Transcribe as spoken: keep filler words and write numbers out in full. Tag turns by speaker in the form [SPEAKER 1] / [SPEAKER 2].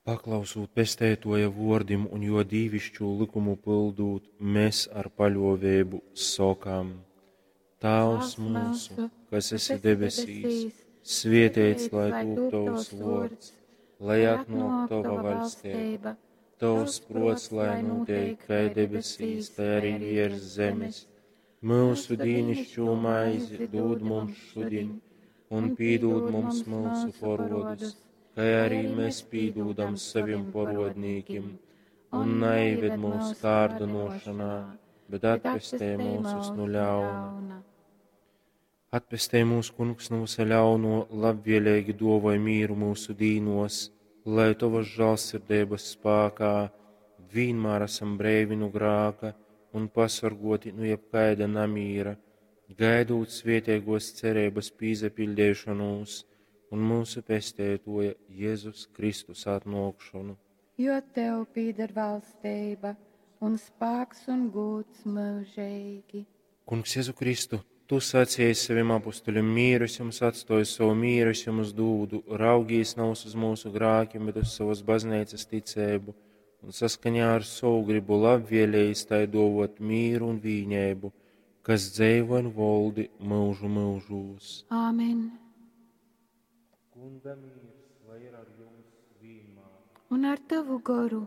[SPEAKER 1] Paklausūt Pesteituoja vuordim un juo dīviškū lykumu pyldūt, mes ar paļuoveibu sokam: Tāvs myusu, kas esi debesīs, svieteits lai tūp tovs vuords, lai atnuok tova vaļsteiba, tovs pruots lai nūteik kai debesīs, tai arī viers zemes. Myusu dīnišķū maizi dūd mums šudiņ, un pīdūd mums myusu porodus, kai arī mēs pīdūdam savim porodnīkim, un naieved mūsu kārdinošanā, bet atpestej mūsus nu ļauna. Atpestej mūs, Kungs, nu visa ļauno, labvēlīgi duovoj mīru mūsu dīnos, lai tovas žālsirdeibas spākā vienmēr esam breivi nu grāka un pasorgoti nu jebkaida namīra, gaidūt svētīgos cerības pīzapiļdeišonūs un mūsu pesteitoja Jēzus Kristus atnōkšonu.
[SPEAKER 2] Jo tev pīder valstība un spāks un gūds mūžīgi.
[SPEAKER 1] Kungs Jēzu Kristu, tu sacīji saviem apustuļiem, mīru es jums atstoju, savu mīru es jums dūdu, raugīs nav uz mūsu grākiem, bet uz savas baznīcas ticēbu, un saskaņā ar savu gribu labvēlējis tai dovot mīru un vīņēbu, kas dzeivo un voldi mūžu mūžūs.
[SPEAKER 2] Āmen.
[SPEAKER 1] Kunga mīrs, lai ir ar jums vienmēr.
[SPEAKER 2] Un ar tavu goru.